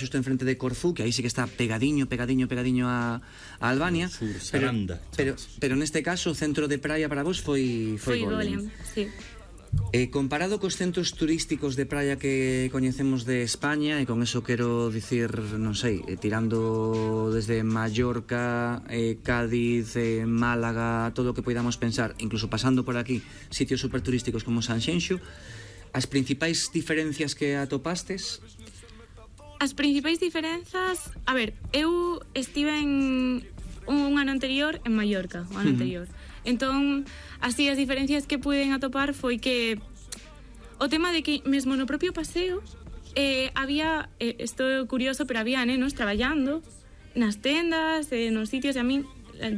xusto enfrente de Corfú, que aí sí que está pegadiño a Albania, Sur, Saranda, pero neste caso o centro de praia para vos foi Golem. Sí. Comparado cos centros turísticos de praia que coñecemos de España, e con eso quero dicir, non sei, tirando desde Mallorca, Cádiz, Málaga, todo o que poidamos pensar, incluso pasando por aquí sitios superturísticos como Sanxenxo, as principais diferencias que atopastes? As principais diferenzas... A ver, eu estive un ano anterior en Mallorca, o ano anterior. Entón, así, as diferencias que puiden atopar foi que o tema de que mesmo no propio paseo había, isto é curioso, pero había nenos traballando nas tendas, nos sitios, e a mí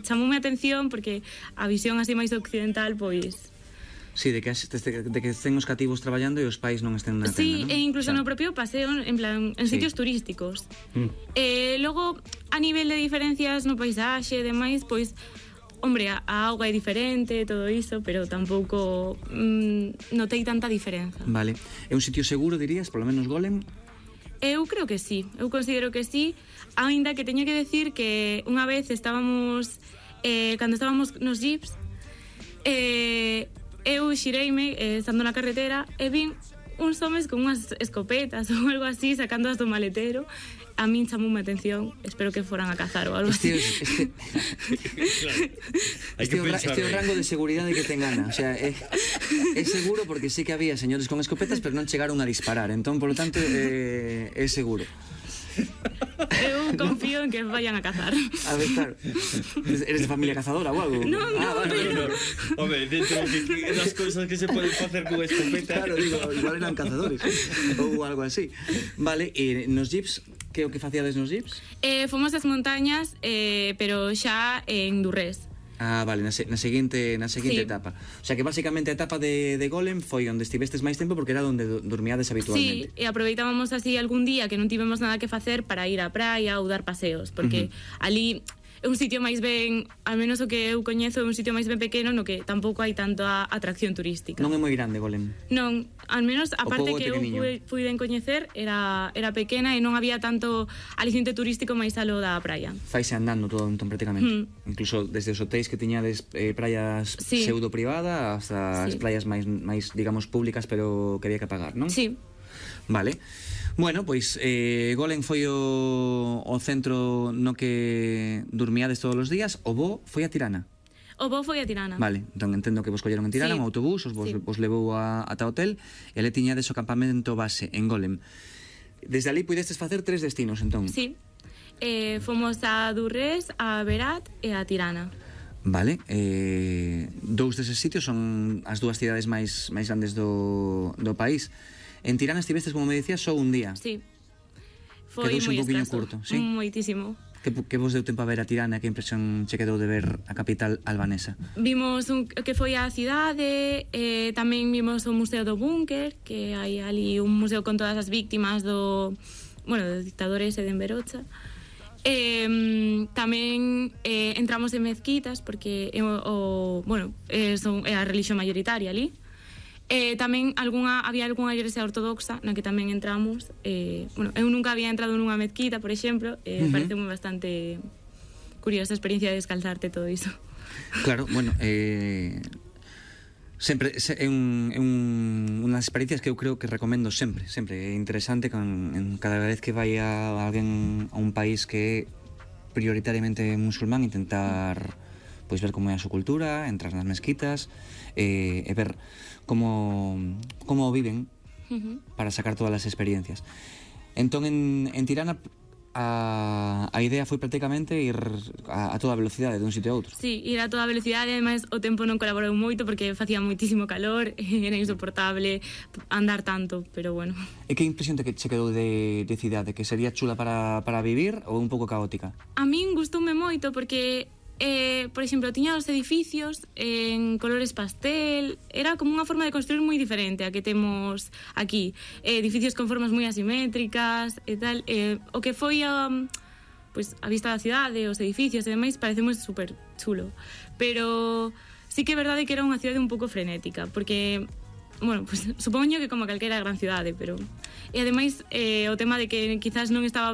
chamoume a atención porque a visión así máis occidental, pois... Sí, de que estén os cativos traballando e os pais non estén na tenda, sí, non? E incluso no propio paseo, en plan, en sitios turísticos. Logo, a nivel de diferencias no paisaxe e demais, pois, hombre, a auga é diferente, todo iso, pero tampouco notei tanta diferenza. Vale. É un sitio seguro, dirías, polo menos Golem? Eu creo que sí, eu considero que sí, aínda que teño que decir que unha vez estábamos, cando estábamos nos jeeps, eu xireime estando na carretera e vin uns homes con unhas escopetas ou algo así sacándoas do maletero. A min chamoume a atención, espero que foran a cazar ou algo así. Este é o rango de seguridade que ten Ana. O sea, é seguro porque sí que había señores con escopetas, pero non chegaron a disparar. Entón, polo tanto, é seguro. Eu confío en que vayan a cazar. A ver, claro. Eres de familia cazadora ou algo? Non, pero... Home, dentro das cousas que se poden facer con escopeta. Claro, digo, igual eran cazadores ou algo así. Vale, e nos jeeps, que o que facíades nos jeeps? Fomos ás montañas, pero xa en Durrés. Ah, vale, na seguinte sí. etapa. O sea que basicamente a etapa de Golem foi onde estivestes máis tempo porque era onde dormiades habitualmente. Sí, e aproveitábamos así algún día que non tivemos nada que facer para ir á praia ou dar paseos, porque ali é un sitio máis ben, al menos o que eu coñezo, é un sitio máis ben pequeno no que tampouco hai tanta atracción turística. Non é moi grande Golem? Non, al menos a parte que eu puiden coñecer era pequena e non había tanto aliciente turístico máis alo da praia. Faise andando todo entón prácticamente. Incluso desde os hotéis que tiñades praias pseudo privada hasta as praias máis, digamos, públicas, pero que había que pagar, non? Sí. Vale. Bueno, pois Golem foi o centro no que dormiades todos os días. O voo foi a Tirana. O voo foi a Tirana. Vale, entón entendo que vos colleron en Tirana, un autobús, vos levou ata hotel e le tiñades o campamento base en Golem. Desde ali puidestes facer 3 destinos, entón. Sí. Fomos a Durrés, a Berat e a Tirana. Vale, dous deses sitios son as dúas cidades máis grandes do país. En Tirana estivestes, como me decías, só un día. Sí. Foi moi escaso. Sí? Moitísimo. Que vos deu tempo a ver a Tirana? Que impresión che quedou de ver a capital albanesa? Vimos que foi a cidade, tamén vimos o Museo do Búnker, que hai ali un museo con todas as víctimas dos dictadores e de Enverocha. Tamén entramos en mezquitas, porque é a religión mayoritaria ali. Tamén había algunha igrexa ortodoxa na que tamén entramos. Eu nunca había entrado nunha mezquita, por exemplo. Parece moi bastante curiosa a experiencia de descalzarte todo iso. Claro, bueno, sempre é unhas experiencias que eu creo que recomendo sempre. É interesante cada vez que vai a alguén a un país que é prioritariamente musulmán, intentar pois ver como é a súa cultura, entrar nas mezquitas e ver como viven para sacar todas as experiencias. Entón en Tirana a idea foi prácticamente ir a toda velocidade dun sitio a outro. Sí, ir a toda velocidade, ademais o tempo non colaborou moito porque facía moitísimo calor, era insoportable andar tanto, pero bueno. E que impresión che quedou de cidade? Que sería chula para vivir ou un pouco caótica? A min gustoume moito porque por exemplo, tiña os edificios en colores pastel, era como unha forma de construir moi diferente a que temos aquí, edificios con formas moi asimétricas e tal, o que foi a vista da cidade, os edificios e demais, parecemos super chulo, pero sí que é verdade que era unha cidade un pouco frenética, porque bueno, pues supoño que como calquera gran cidade, pero... E ademais, o tema de que quizás non estaba